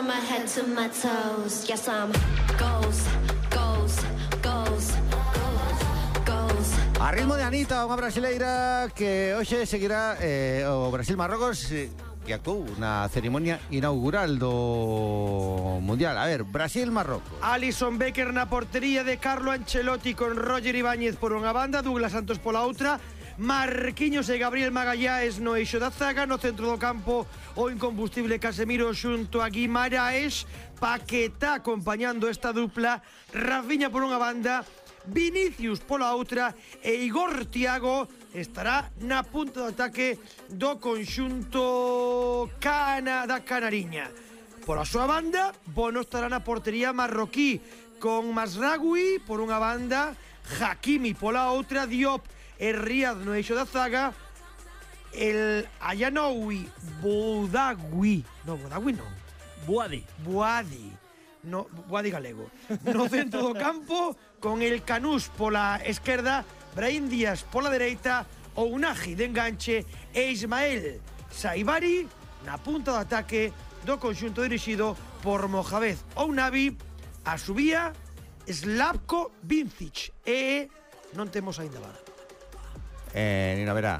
my head to my toes. Yes, I'm goals, goals, goals, goals, goals. A ritmo de Anita, unha brasileira que hoxe seguirá o Brasil-Marrocos, que actuou na ceremonia inaugural do Mundial. A ver, Brasil-Marrocos. Alisson Becker na portería de Carlo Ancelotti con Roger Ibáñez por unha banda, Douglas Santos pola outra, Marquinhos e Gabriel Magalhães no eixo da zaga, no centro do campo o incombustible Casemiro xunto a Guimaraes, Paquetá acompañando esta dupla, Rafinha por unha banda, Vinicius pola outra e Igor Thiago estará na punta de ataque do conxunto da Canariña. Pola súa banda, Bono estará na portería marroquí con Masraoui por unha banda, Hakimi pola outra, Diop e Riad no eixo da zaga, el Ayanoui Boudagui galego no centro do campo, con el Canús pola esquerda, Brahim Díaz pola dereita, Ounahi de enganche e Ismael Saibari na punta do ataque do conxunto dirixido por Mohamed Ounavi. A subía Slavko Vincic e non temos aínda vara. Nina verá.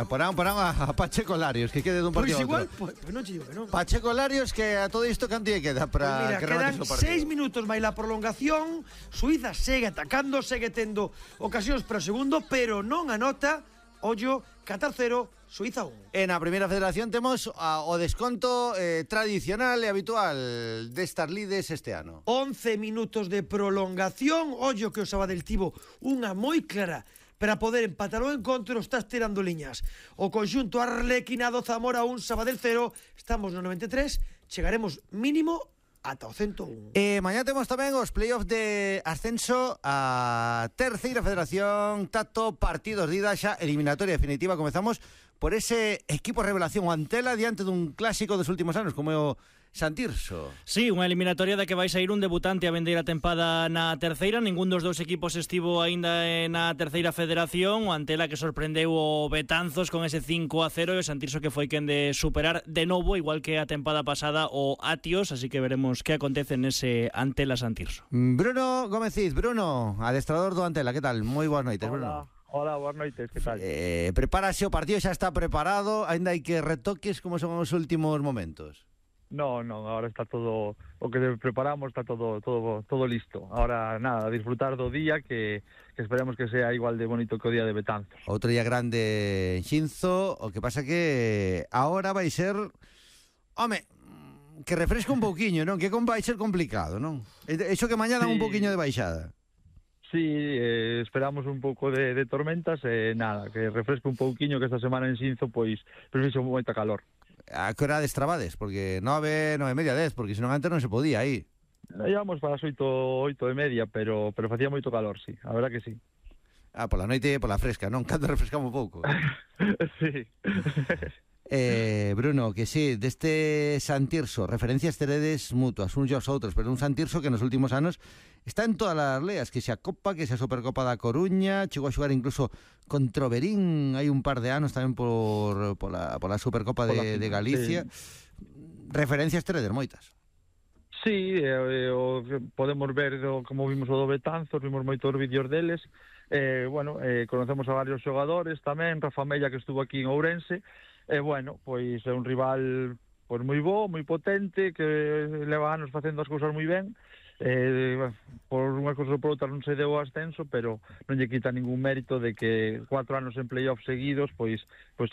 Porán a Pacheco Larios, que quede dun partido igual, a outro. Pois non che digo que non. Pacheco Larios, que a todo isto canto lle queda para Mira, que quedan remate o partido. 6 minutos máis la prolongación. Suiza segue atacando, segue tendo ocasións para o segundo, pero non anota. Ollo, Qatar 0, Suiza 1. En a primeira federación temos o desconto tradicional e habitual destas lides este ano. 11 minutos de prolongación. Ollo que o Sabadell tivo unha moi clara para poder empatar o encontro, está estirando liñas. O conxunto arlequinado, Zamora 1, Sabadell 0. Estamos no 93, chegaremos mínimo ata o 101. Mañá temos tamén os playoffs de ascenso a terceira federación, Tato, partidos de ida xa, eliminatoria definitiva. Comezamos por ese equipo revelación, o Antela, diante dun clásico dos últimos anos, como é o Santirso. Sí, unha eliminatoria da que vai sair un debutante a vendeira tempada na terceira. Ningún dos dous equipos estivo aínda na terceira federación. O Antela que sorprendeu o Betanzos con ese 5-0 e o Santirso que foi quen de superar de novo, igual que a tempada pasada, o Atios. Así que veremos que acontece nese Antela-Santirso. Bruno Gómez Cid, Bruno, adestrador do Antela, que tal? Moi boas noites, Bruno. Hola, boas noites, que tal? Prepárase o partido, xa está preparado, aínda hai que retoques, como son os últimos momentos? No, ahora está todo o que preparamos, está todo listo. Ahora nada, a disfrutar do día que esperemos que sea igual de bonito que o día de Betanzos. Outro día grande en Xinzo, o que pasa que ahora vai ser, que refresca un pouquiño, non? Que vai ser complicado, non? Eso que mañá dan un pouquiño de baixada. Sí, esperamos un pouco de tormentas e nada, que refresque un pouquiño, que esta semana en Xinzo pois fixo moita calor. A que hora destrabades? Porque 9:30, 10, porque senón antes non se podía aí. Íbamos para as 8:30, pero facía moito calor, sí, a verdad que sí. Pola noite, pola fresca, non? Cando refrescamos pouco. Sí. Bruno, que sí, deste Santirso, referencias teredes mutuas, uns aos outros, pero un Santirso que nos últimos anos está en todas as leas, que se a Copa, que se a Supercopa da Coruña, chegou a xogar incluso contra o Berín, hai un par de anos tamén pola Supercopa de Galicia. Sí. Referencias teredes moitas. Sí, podemos ver como vimos o do Betanzos, vimos moitos vídeos deles. Conocemos a varios xogadores tamén, Rafa Mella, que estuvo aquí en Ourense. Pois é un rival pois moi bo, moi potente, que leva anos facendo as cousas moi ben. Por unha cousa ou por outra non se deu o ascenso, pero non lle quita ningún mérito de que 4 anos en playoff seguidos pois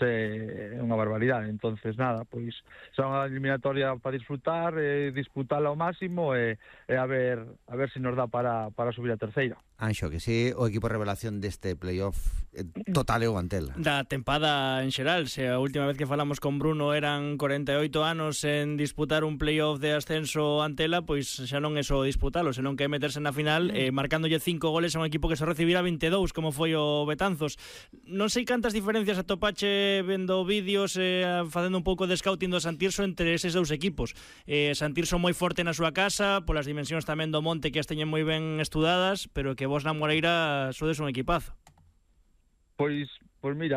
é unha barbaridade. Entonces nada, pois é unha eliminatoria para disfrutar, disputala ao máximo e a ver se nos dá para subir a terceira. Anxo, que sí, o equipo revelación deste playoff total é o Antela. Da tempada en xeral, se a última vez que falamos con Bruno eran 48 anos en disputar un playoff de ascenso Antela, pois xa non é só disputalo, senón que é meterse na final marcándolle 5 goles a un equipo que se recibirá 22, como foi o Betanzos. Non sei cantas diferencias atopache vendo vídeos, facendo un pouco de scouting do Santirso entre eses dous equipos. Santirso moi forte na súa casa, polas dimensións tamén do monte que as teñen moi ben estudadas, pero que vos na Moreira sodes un equipazo. Pois mira,